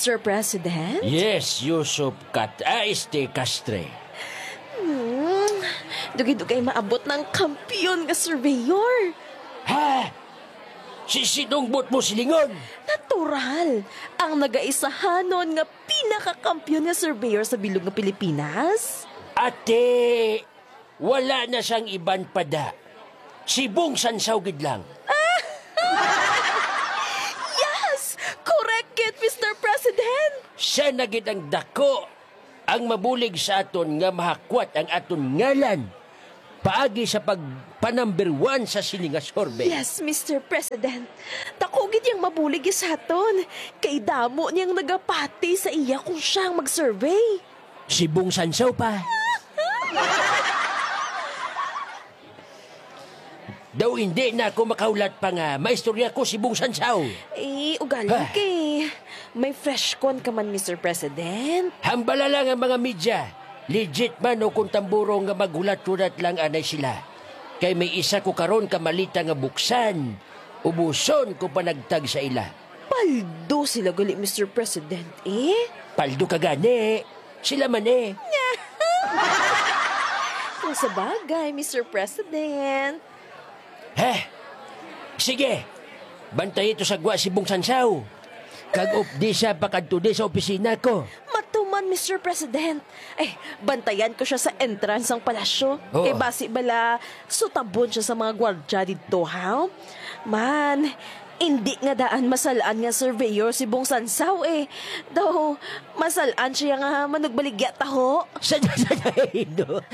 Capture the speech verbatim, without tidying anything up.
Sir President? Yes, Yusuf Kat, ah, este Castre. Hmm, dugay-dugay maabot ng kampiyon nga surveyor. Ha? Si sinong buot mo silingon? Natural, ang nagaisahanon nga pinakakampiyon nga surveyor sa bilog nga Pilipinas. Ate, wala na siyang iban pa da. Si Bong Sansaw gid lang. Yes! Correct gid, Mister President! Siya na gid ang dako, ang mabulig sa aton nga mahakwat ang aton ngalan paagi sa pagpa-number one sa sini nga survey. Yes, Mister President. Dako gid yang mabulig sa aton, kay damo niyang nagapati sa iya kung siya ang mag-survey. Si Bong Sansaw pa. Daw hindi na ako makahulat pa nga maistorya ko si Bong Sansaw. Eh, ugaling Ha? kay may fresh con ka man, Mister President. Hambala lang ang mga media. Legit man o kung tamburo nga maghulat-hulat lang anay sila. Kay may isa ko karon ka malita nga buksan, ubuson ko panagtag sa ila. Paldo sila gali, Mister President, eh. Paldo ka gani. Sila man eh. Kung sa bagay, Mister President. Heh! Sige, bantayi to sa gwa si Bong Sansaw. Kag updi siya pakadto di sa opisina ko. Matuman, Mister President. Eh, bantayan ko siya sa entrance sang palasyo. Oo. Kay basi bala, sutabon siya sa mga gwardya didto, ha? Man, hindi nga daan masalan nga surveyor si Bong Sansaw, eh. Daw, masalan siya nga manugbaligya taho. Sa, sa, sa, no?